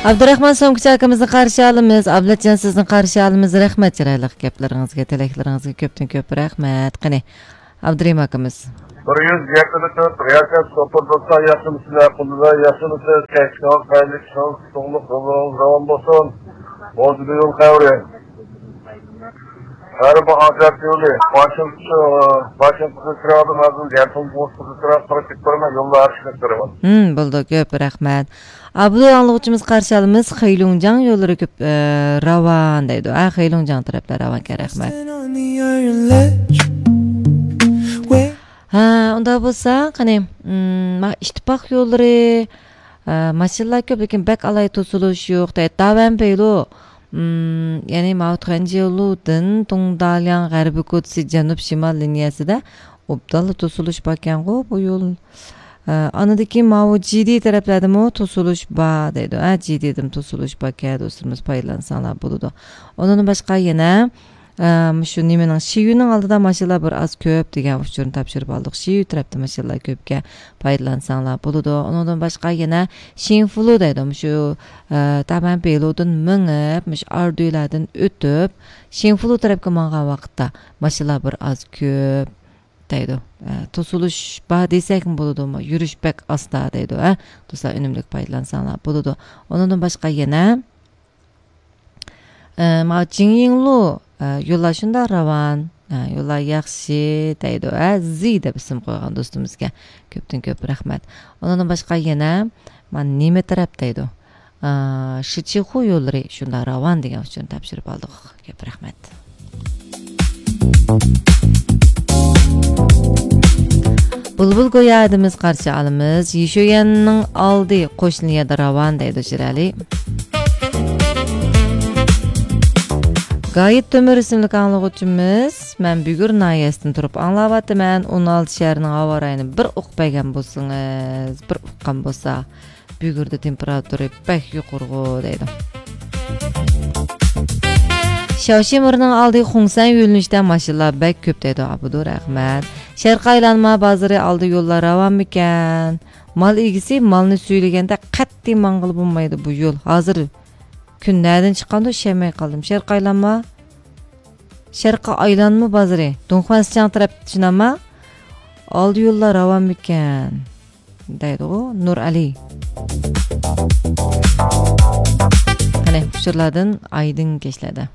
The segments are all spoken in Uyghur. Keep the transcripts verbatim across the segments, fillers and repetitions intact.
ئابدۇراخمان سومكىچى ئاكىمىزنى قارشى ئالىمىز. ئابلەتجان، سىزنى قارشى ئالىمىز. رەھمەت چىرايلىق گەپلىرىڭىزگە، تىلەكلىرىڭىزگە كۆپتىن كۆپ رەھمەت. قېنى، ئابدۇرېھىم ئاكىمىز. بىر يۈز يەتتە تۆت رىياسەت سوپۇر دوستلار، ياخشىمۇسىلەر؟ قۇللىلار ياخشىمۇسىز؟ كەچلىكىڭىز خەيرلىك، ئىشىڭىز ئۇتۇقلۇق، يوللىرىڭىز راۋان بولسۇن. موزىدا يول خەۋىرى. غەربىي ئازاد يولى، ۋاشىنگتون، ۋاشىنگتون كىرىۋاتىمەن، ھازىر يەنتۇڭ بوسقىسى تەرەپ قاراپ كېتىپ بارىمەن، يولدا ھەر ئىشنى كۆرىمەن. ھىم، بولىدۇ، كۆپ رەھمەت. ئابدۇ ئاڭلىغۇچىمىز قارشى ئالىمىز، خېيلۇڭجاڭ يوللىرى كۆپ، ئە، راۋان دەيدۇ. ھە، خېيلۇڭجاڭ تەرەپلەر راۋانكەن، رەھمەت. ھە، ئۇنداق بولسا، قېنى، مم، ما-، ئىتتىپاق يوللىرى، ئە، ماشىنىلار كۆپ، لېكىن بەك ئالاھىدە توسۇلۇش يوق دەيدۇ. داۋەن پەيلۇ، مم، يەنى ماۋۇ تۇەنجيېلۇدىن دۇڭدالياڭ غەربىي كوچىسى جەنۇب شىمال لىنىيەسىدە ئوبدانلا توسۇلۇش باركەنغۇ بۇ يول. ئە، ئاندىن كېيىن ماۋۇ جىدى تەرەپلەردىمۇ توسۇلۇش بار دەيدۇ. ھە، جىدىدىمۇ توسۇلۇش باركەن، دوستلىرىمىز پايدىلانساڭلار بولىدۇ. ئۇنىڭدىن باشقا يەنە، ئە، مۇشۇ نېمىنىڭ، شىيۈنىڭ ئالدىدا ماشىنىلار بىر ئاز كۆپ دېگەن ئۇچۇرنى تاپشۇرۇپ ئالدۇق. شىيۈ تەرەپتە ماشىنىلار كۆپكەن، پايدىلانساڭلار بولىدۇ. ئۇنىڭدىن باشقا يەنە شىنفۇلۇ دەيدۇ. مۇشۇ، ئە، تەمەن بېلۇدىن مېڭىپ، مۇشۇ ئاردۇيلاردىن ئۆتۈپ، شىنفۇلۇ تەرەپكە ماڭغان ۋاقىتتا ماشىنىلار بىر ئاز كۆپ دەيدۇ. ئە، توسۇلۇش بار دېسەكمۇ بولىدۇ، يۈرۈش بەك ئاستا دەيدۇ. ھە، دوستلار، ئۈنۈملۈك پايدىلانساڭلار بولىدۇ. ئۇنىڭدىن باشقا يەنە، ئە، ماۋۇ جىڭيىڭلۇ، ئە، يوللار شۇنداق راۋان، ئە، يوللار ياخشى دەيدۇ. ھە، زى دەپ ئىسىم قويغان دوستىمىزگە كۆپتىن كۆپ رەھمەت. ئۇنىڭدىن باشقا يەنە، مانا نېمە تەرەپ دەيدۇ. ئا، شىچىخۇ يوللىرى شۇنداق راۋان دېگەن ئۇچۇرنى تاپشۇرۇپ ئالدۇق. كۆپ رەھمەت. بۇلبۇل گويا ئادىمىز قارشى ئالىمىز. يىشۇيەننىڭ ئالدى قوشنا يەردە راۋان دەيدۇ شىرئەلى. گايىت تۆمۈر ئىسىملىك ئاڭلىغۇچىمىز، مەن بۈگۈر ناھىيەسىدىن تۇرۇپ ئاڭلاۋاتىمەن. ئون ئالتە شەھەرنىڭ ھاۋا رايىنى بىر ئۇقۇپ بەرگەن بولسىڭىز، بىر ئۇققان بولسا. بۈگۈردە تېمپېراتۇرا بەك يۇقىرىغۇ دەيدۇ. شياۋشىمىرنىڭ ئالدى خۇڭسەن يۆنىلىشتە ماشىنىلار بەك كۆپ دەيدۇ. ئابدۇ رەھمەت. شەرقىي ئايلانما بازىرى ئالدى يوللار راۋانمىكەن؟ مال ئىگىسى مالنى سۈيلىگەندە قەتئىي ماڭغىلى بولمايدۇ بۇ يول. ھازىر كۈن نەدىن چىققاندۇ، ئىشەنمەي قالدىم. شەرقىي ئايلانما، شەرقىي ئايلانما بازىرى، دۇڭخۇەنسىچياڭ تەرەپ شۇنداقما؟ ئالدى يوللار راۋانمىكەن؟ دەيدىغۇ نۇرئەلى. قېنى، ئۇچۇرلاردىن ئايدىڭ كەچلەردە.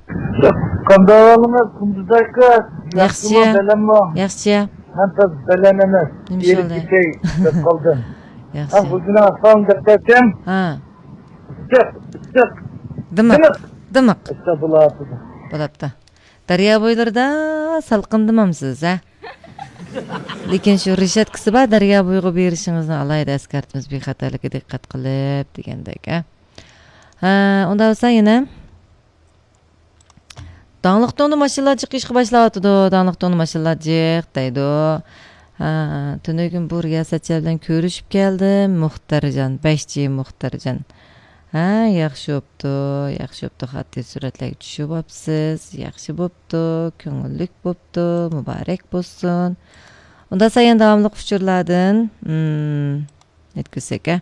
قانداق ئەھۋالىڭىز، قۇندۇز ئاكا؟ ياخشى. ياخشىمۇ، بەلەنمۇ؟ ياخشى. مەن تازا بەلەن ئەمەس. نېمە ئىش بولدى؟ كېتەي دەپ قالدىم. ياخشى. ھە، خوجىنىڭ ئەھۋالىنى دەپ بەرسەم. ھە. ئىسسىق، ئىسسىق. دىمىق، دىمىق. دىمىق. ئىسسىق بولاۋاتىدۇ. بولاپتۇ. دەريا بويلىرىدا سالقىندىمامسىز، ھە؟ لېكىن شۇ رېشاتكىسى بار دەريا بويىغا بېرىشىڭىزنى ئالاھىدە ئەسكەرتىمىز، بىخەتەرلىككە دىققەت قىلىپ دېگەندەك، ھە؟ ھە، ئۇنداق بولسا يەنە داڭلىق دۇڭدا ماشىنىلار جىق ئىشقا باشلاۋاتىدۇ، داڭلىق دۇڭدا ماشىنىلار جىق دەيدۇ. ھە، تۈنۈگۈن بۇ رىياسەتچىلەر بىلەن كۆرۈشۈپ كەلدىم، مۇختەرجان، بەشچى مۇختەرجان. ھە، ياخشى بوپتۇ، ياخشى بوپتۇ، خاتىرە سۈرەتلەرگە چۈشۈرۈۋاپسىز، ياخشى بوپتۇ، كۆڭۈللۈك بوپتۇ، مۇبارەك بولسۇن. ئۇنداق سايان داۋاملىق ئۇچۇرلاردىن، مم، نېمە دېسەك، ھە؟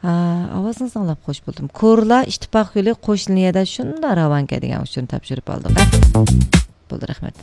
ھا، ئاۋازىڭىزنى ئاڭلاپ خوش بولدۇم. كورلا ئىتتىپاق يولى قوشنا يەردە شۇنداق راۋانكەن دېگەن ئۇچۇرنى تاپشۇرۇپ ئالدۇق، ھە؟ بولدى، رەھمەت.